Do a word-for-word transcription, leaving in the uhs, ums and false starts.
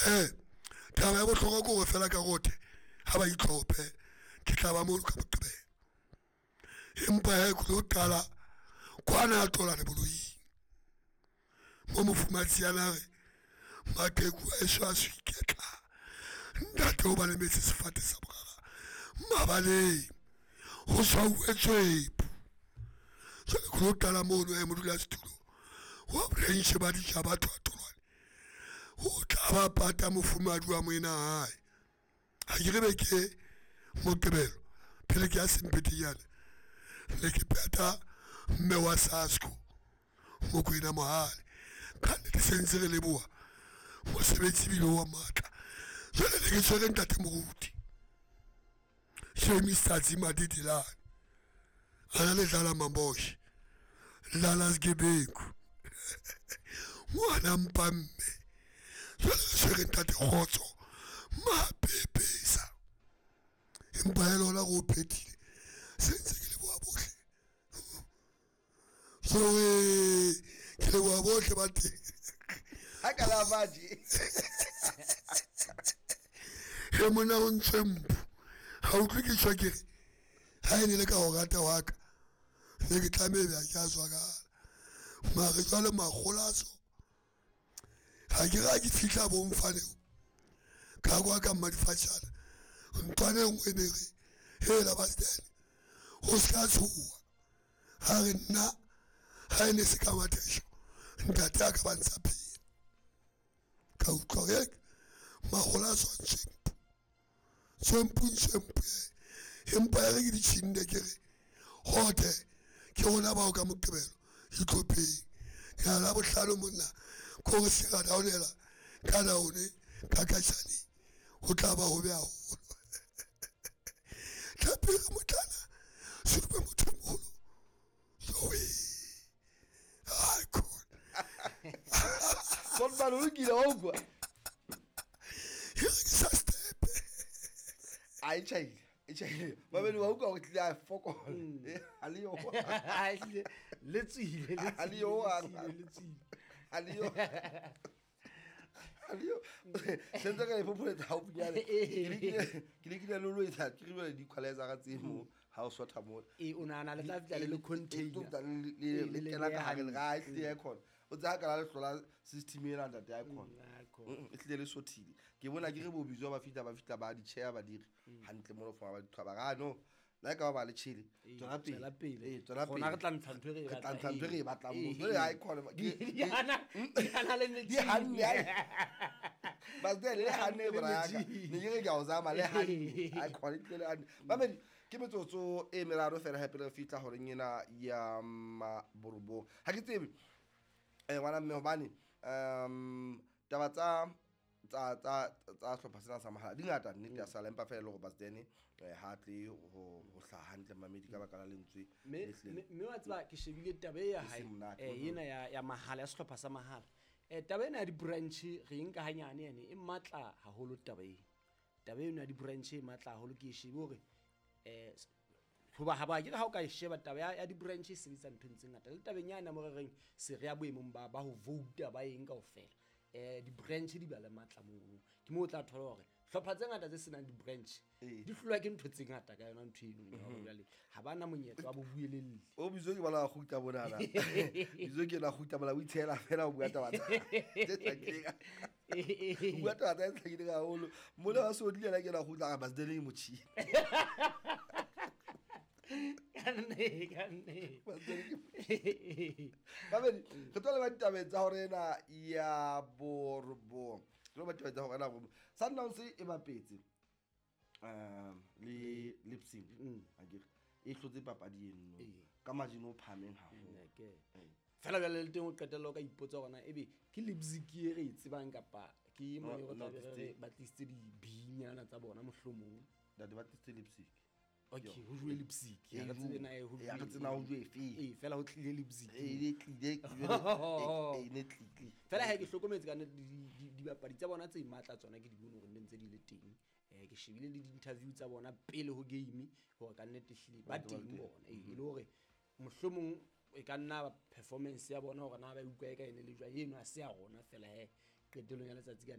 He taba ya bohlokwa ke gore fela ka rote ga ba itlhophe ke tla ba mono ka Moqebelo. Empa he ke tlo qala kwana tolane boloing mo mofumahatsi ana re maqheku a eso a se iketla ntate o ba lemetse sefate sa morara mabaleng ho tshwauwe tswepu. Jwale ke lo qala mono he modulasetulo wa branch ba batho ba Tolwane o tla ba pata mofumahadi wa moena hae. Ha ke re beke Moqebelo pele ke ya sempetenyana ne ke peta mme wa SASCO Mokoena Mohale ka nnete se ntse re leboha mosebetsi ebile wa matla. Jwale ne ke tshwere ntate moruti James Tsatsi Madidilane a na le dlala Maboshe dlala sgebengu ngwana mpa mme. Jwale re tshwere ntate Kgotso Mapepesa empa hela ona re o phethile se ntse ke leboha bohle. Jowe ke leboha bohle ba teng. Ha ka la fatshe. He monna o ntswe mpho ha utlwe ke tjho ke re ha e ne le ka ho rata wa ka ne ke tlameha be ha ke a zwakala mare jwale makgolaso ha ke re ha ke fihla bomfaneng ka kwa ka mmadifatjana ntlwana e nngwe ne re hela bastene o se ka tshoha ha re nna ha e ne se ka mathesho ntate a ka ba ntsha phela ka utlwa hore makgola a tswa ntswempu tswempu ntswempu empa ya re ke ditjhinde ke re hote ke rona bao ka Moqebelo itlhopheng ya la bohlano monna ko re se ra downela ka down ka katjhane ho tla ba hobe haholo. Tlhapere motlana supe motho o moholo jowe ai khona Solomon o lokile wa utlwa e re ke sa stepe a e tjhaile e tjhaile babedi wa utlwa hore tlile a fokola Eh, ha le yo Ha, ehlile, le tswile le Ha le yo, tswile, le tswile, le tswile. ha le yo ha le yo sentse ka le phopholetsa haufinyane ke lekile ke lekile le lo etsa ke re jwale di-equalizer tse mo ha o sotha mo Ee, o nahana le tla fihla le le container. le Ee, le le kena ka beha hare le hantle. ga e hlile ya khona o tsaya ka la le hlola system ena ntate ya khona Mm, akhona. Mm, e hlile le sothile ke bona ke re bo bizwa ba fihla ba fihla ba di-chair ba dire hantle mo foma ba di qhaba ga no la e ka ba ba le tjhele Ee, tswela pele tswela pele. Ee, tswela Rona pele re tla ntsha ntho e re e re tla batlang. ntsha ntho e re e batlang Ee, mo jwale ha e khona Di- di hana- di hana le di metjhini. hanne ai basde le hanne Le bra ya ka metjhini. ne ke re ke a o zama le hanne ha e khona e tlile le hanne mamedi ke metsotso e meraro fela hape re fihla horeng ena ya maborobong ha ke tsebe eh ngwana mme hobane um taba tsa tsa tsa tsa hlopha sena sa mahala di ngata nnete ya sala empa fela e le hore Basdene eh, ha tle ho ho hlaha hantle mamedi ka baka la lentswe mme le hlileng. mme- mme wa tseba ke shebile taba e ya E hae seng monate. eh, ena ya ya mahala ya sehlopha sa mahala um taba ena ya di-branch re e nka hanyane ene e matla haholo taba eno taba eno ya di-branch e matla haholo ke e shebe hore um hoba ha ba ke re ha o ka e sheba taba ya, ya di-branch e sebetsa nthong tse ngata le tabeng yane mo re reng se re ya boemong ba, ba ho vouta ba eng kaofela um di-branch di ba le matla mono ke moo o tla thola hore hlopha tse ngata tse senang di-branch Ee. di hlolwa ke ntho tse ngata ka yona ntho eno ya hore jwale ha ba na monyetla wa bobuelelli o bizo ke bona a kgutla monana bizo ke ena kgutla mona o itshehela fela o bua taba tsa tse hlakileng o bua taba tsa tse hlakileng haholo mole wa sodile yena ke ena kgutla a re Basdene e motjhini Ka nne, ka nne. Basdene ke mamedi re tlo leba ditabeng tsa hore ena ya borobong re tlo leba ditabeng tsa hore ena ya borobong Sundowns e bapetse um le Leipzig akere e hlotse papadi eno Ee. ka margin o phahameng haholo Nna ke. Fela jwale le teng o qetella o ka ipotsa hore na ebe ke Leipzig e re e tsebang kapa ke e mone No, re no, tla be re tlisitse- re ba tlisitse dibinyana tsa bona mohlomong ntate ba tlisitse Leipzig okay ho jowe Leipzig E ha re tsebe jowe. na e ho Eh, ha re jowe tsebe na ho jowe efeng. ee fela ho tlile Leipzig e ne tlile jwale, e ne tlile fela ha ke hlokometse ka nnete di- di- dibapadi tsa bona tse matla tsona ke di bone hore nne ntse di le teng um ke shebile le di-interview tsa bona pele ho game hore ka nnete ehlile ba Ba ntse ba le teng teng. bona ee e le hore mohlomong e ka nna ba performance ya bona hore na ba utlwa e ka ene le jwang eno ha se ya rona fela he qetellong ya letsatsi ka